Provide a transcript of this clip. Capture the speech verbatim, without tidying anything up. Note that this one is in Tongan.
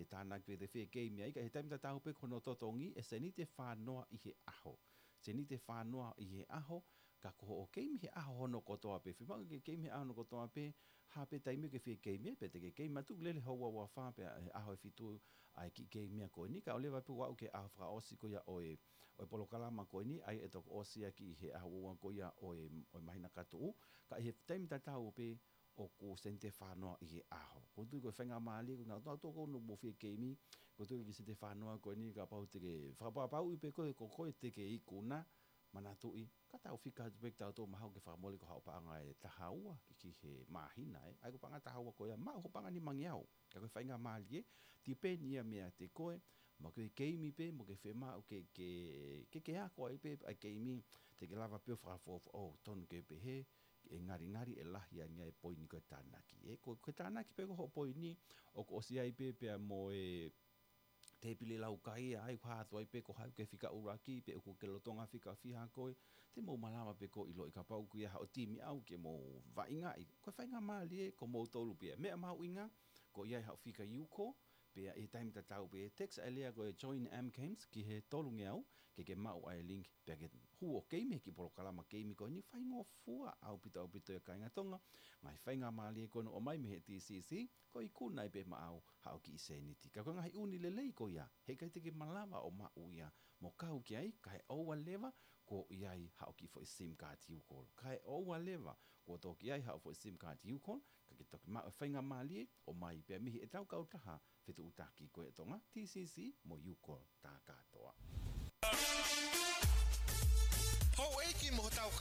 e tānaki pē te fie keimi ai, ka ʻi he taimi tatau pē ko hono totongi e seniti ʻe fānoa ʻi he ʻaho. Seniti ʻe fānoa ʻi he ʻaho, ka ko hoʻo keimi he ʻaho hono kotoa pē. Fiemaʻu ke keimi he ʻaho hono kotoa pē, ha pē taimi ke fie keimi ai, pe te ke keimi atu lele houa ua fā pē he ʻaho ʻe fitu ʻa e kiʻi keimi ko eni, kae ʻoua leva pē ʻo aʻu ki he ʻaho fakaʻosi ko ia ʻo e, ʻo e polokalama ko eni, ʻa ia ʻe toki ʻosi ʻaki he ʻaho ua ko ia ʻo e, ʻo e māhina ka tuʻu, ka ʻi he taimi tatau pē ʻoku seniti ʻe fānoa ʻi he ʻaho. ʻOku ou tui ko e faingamālie, ko nautolu ʻoku nau mou fie keimi, ʻoku ou tui ko e kiʻi seniti ʻe fānoa ko eni kapau te ke fakapapauʻi pē koe, ko koe te ke ikuna, manatuʻi, ka tau fika atu pē kitautolu mahalo ke fakamole ko haʻo paʻanga ʻe taha ua ki, ki he māhina, ē. ʻA ia ko e paʻanga taha ua ko ia, maʻu hoʻo paʻanga nimangeau. Ka ko e faingamālie, tipeni ia meiate koe, mo ke keimi pē, mo ke fiemaʻu ke, ke, ke, ke ako ai pē ʻa e keimi, te ke lava pē ʻo fakafuofua, ʻo tonu ke pehē, ʻe ngalingali ʻe lahi ange ʻa e poini ko e tānaki. Ē, ko, ko e tānaki pē ko hoʻo poini, ʻoku ʻosi ai pē pea mo e tēpile laukaia, ʻa ia ʻoku hā atu ai pē ko hai ke fika ʻuluaki, pe ʻoku ke lolotonga fika fiha koe, te mou malava pē ʻo ʻiloʻi kapau ʻoku ʻi ai haʻo timi ʻaʻau ke mou vaʻingaʻi. Ko e faingamālie, ko moutolu pē ia. Meʻa mahuʻinga, ko ia ʻi haʻo fika Youcall, pea ʻi he taimi tatau pē text ʻa e lea ko e Join M Camps ki he tolungeau, ke ke maʻu ʻa e link, pea ke hū ʻo keimi he kiʻi polokalama keimi ko eni, faingofua ʻaupito ʻaupito ʻe kāinga Tonga, ngaahi faingamālie ko eni ʻoku ʻomai mei he T C C, ko e ikuna ai pē maʻau haʻo kiʻi seniti. Ka ko e ngaahi ʻuuni lelei ko ia, heʻikai te ke malava ʻo maʻu ia mo kau ki ai, kae ʻoua leva kuo ʻi ai haʻo kiʻi foʻi sim card Youcall. Kae ʻoua leva kuo toki ʻi ai haʻo foʻi sim card Youcall, ka ke toki maʻu e faingamālie ʻoku ʻomai pē mei heʻetau kautaha fetuʻutaki ko e Tonga, T C C mo Youcall tā kātoa. Houʻeiki mo hotau